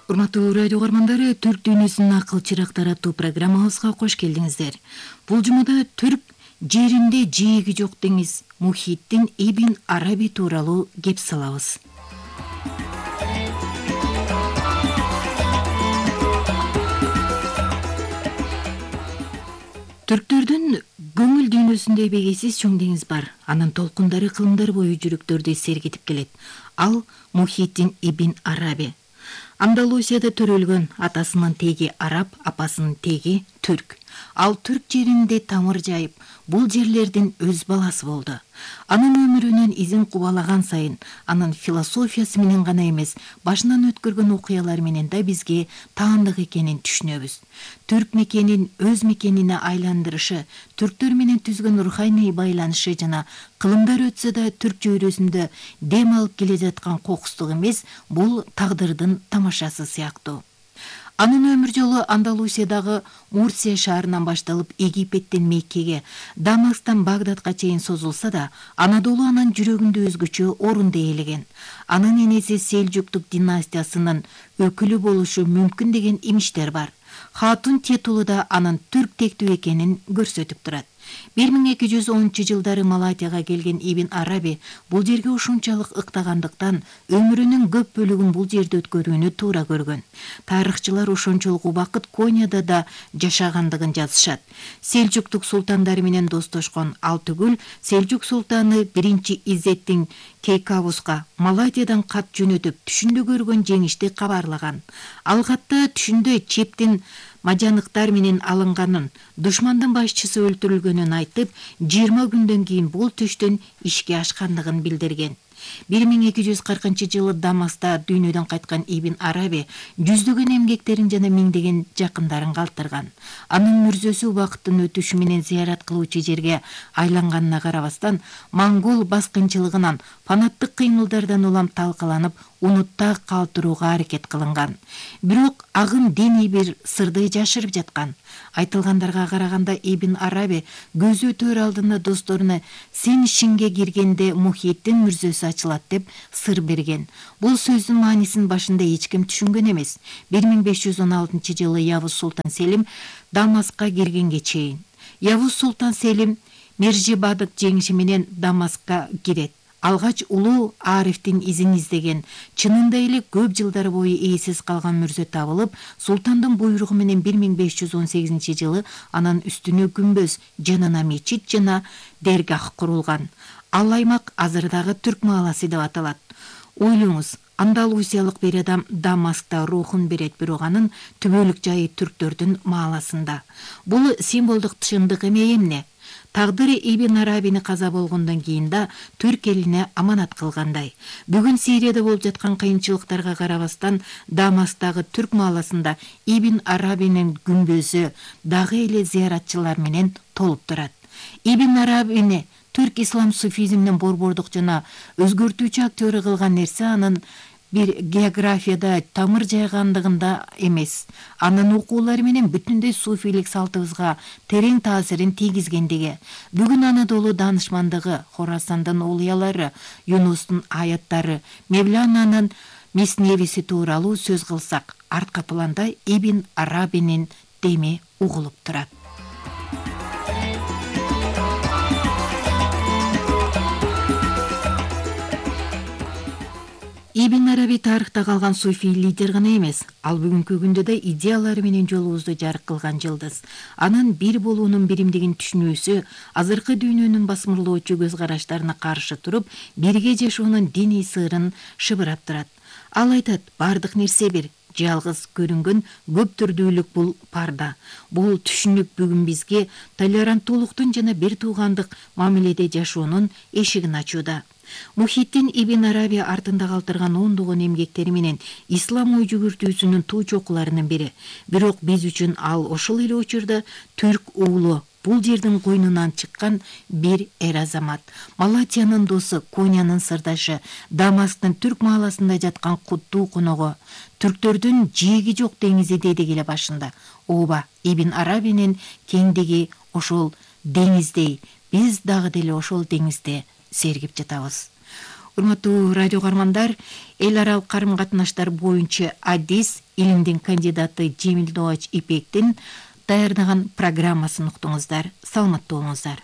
Урматтуу радио угармандары, Түрк дүйнөсүнүн акыл чырактары аттуу программабызга кош келдиңиздер. Бул жумада түрк жеринде жээги жок деңиз Мухиддин Ибн Араби тууралуу кеп салабыз. Түрктөрдүн көңүл дүйнөсүндө эбегейсиз чоң деңиз бар. Анын толкундары кылымдар бою жүрөктөрдү сергитип келет. Ал Мухиддин Ибн Араби. Андалусияда төрөлгөн, атасынын теги араб, апасынын теги түрк. Ал түрк жеринде тамыр жайып, бул жерлердин өз баласы болду. Анын өмүрүнөн изин кубалаган сайын, анын философиясы менен гана эмес, башынан өткөргөн окуялар менен да бизге таандык экенин түшүнөбүз. Түрк мекенин өз мекенине айландырышы, түрктөр менен түзгөн руханий байланышы жана кылымдар өтсө да түрк чөйрөсүндө дем алып келе жаткан кокустук эмес, бул тагдырдын тамашасы сыяктуу. Анын өмүр жолу Андалусиядагы Мурсия шаарынан башталып Египеттен Меккеге, Дамасктан Багдадка чейин созулса да, Анадолу анын жүрөгүндө өзгөчө орунду ээлеген. Анын энеси Селжуктук династиясынын өкүлү болушу мүмкүн деген имиштер бар. Хатун титулу да анын түрк тектүү экенин көрсөтүп турат. 1210-жылдары Малатияга келген Ибн Араби бул жерге ушунчалык ыктагандыктан өмүрүнүн көп бөлүгүн бул жерде өткөрүүнү туура көргөн. Тарыхчылар ошончолук убакыт Конияда да жашагандыгын жазышат. Селжуктук султандары менен достошкон, ал түгүл Селжук султаны 1-Иззеттин Кейкавуска Малатиядан кат жөнөтүп, түшүндө көргөн жеңишти кабарлаган. Ал катта түшүндө чептин мажаныктар менен алынганын, душмандын башчысы өлтүрүлгөнүн айтып, 20 күндөн кийин бул түштөн ишке ашкандыгын билдирген. 1240-жылы Дамаста дүйнөдөн кайткан Ибн Араби жүздөгөн эмгектерин жана миңдеген жакындарын калтырган. Анын мүрзөсү убакыттын өтүшү менен зыярат кылуучу жерге айланганына карабастан, монгол баскынчылыгынан, фанаттык кыймылдардан улам талкаланып, унутта калтырууга аракет кылынган. Бирок агым диний бир сырды жашырып жаткан. Айтылгандарга караганда Ибн Араби көзү өтөр алдында досторуна "Сен ишинге киргенде Мухиддин мүрзөсү ачылат" деп сыр берген. Бул сөздүн маанисин башында эч ким түшүнгөн эмес. 1516-жылы Явuz Султан Селим Дамаскка киргенге чейин. Явuz Султан Селим Мержибадык жеңиши менен Дамаскка кирет. Алгач улуу Арифтин изин издеген, чынында эле көп жылдар бою ээсиз калган мүрзө табылып, султандын буйругу менен 1518-жылы анын үстүнө күмбөз, жанына мечит жана дергах курулган. Ал аймак азырдагы Түрк мааласы деп аталат. Ойлоңуз, андалусиялык бир адам Дамаскта рухун берет, бирок анын түбөлүк жайы түрктөрдүн мааласында. Бул символдук чындык эмне? Тагдыры Ибн Арабини каза болгондон кийин да түрк элине аманат кылгандай. Бүгүн Сирияда болуп жаткан кыйынчылыктарга карабастан, Дамастагы түрк мааласында Ибн Арабинин күмбөзү дагы эле зыяратчылар менен толуп турат. Ибн Арабини түрк ислам суфизминин борбордук жана өзгөртүүчү актёру кылган нерсе анын бир географияда тамыр жайгандыгында эмес, анын окуулары менен бүтүндөй суфийлик салтыбызга терең таасирин тийгизгендиги. Бүгүн Анадолу даанышмандыгы, Хорасандын оолуялары, Юнустун аяттары, Мевлананын Месневиси тууралуу сөз кылсак, артка планда Ибн Арабинин деми угулуп турат. Ибн Араби тарыхта калган суфий лидер гана эмес, ал бүгүнкү күндө да идеялары менен жолубузду жарык кылган жылдыз. Анын бир болуунун биримдигин түшүнүүсү азыркы дүйнөнүн басмырлоочу көз караштарына каршы туруп, бирге жашоонун диний сырын шыбырап турат. Ал айтат, бардык нерсе бир, жалгыз көрүнгөн көп түрдүүлүк бул парда. Бул түшүнүк бүгүн бизге толеранттуулуктун жана бир туугандык мамиледе жашоонун эшигин ачууда. Мухиддин Ибн Араби артында калтырган ондогон эмгектери менен ислам ой жүгүртүүсүнүн туу чокуларынын бири. Бирок биз үчүн ал ошол эле учурда түрк уулу, бул жердин койнунан чыккан бир эр азамат. Малатиянын досу, Конянын сырдашы, Дамасктын түрк мааласында жаткан куттуу коногу. Түрктөрдүн жээги жок деңизи дедик эле башында. Ооба, Ибн Арабинин кеңдиги ошол деңиздей, биз дагы деле ошол деңизде сергип жатабыз. Урматтуу радио каармандар, эл аралык карым катнаштар боюнча адис илимдин кандидаты Жемил Добач Ипектин даярдаган программасын уктуңуздар. Саламаттуу болуңуздар.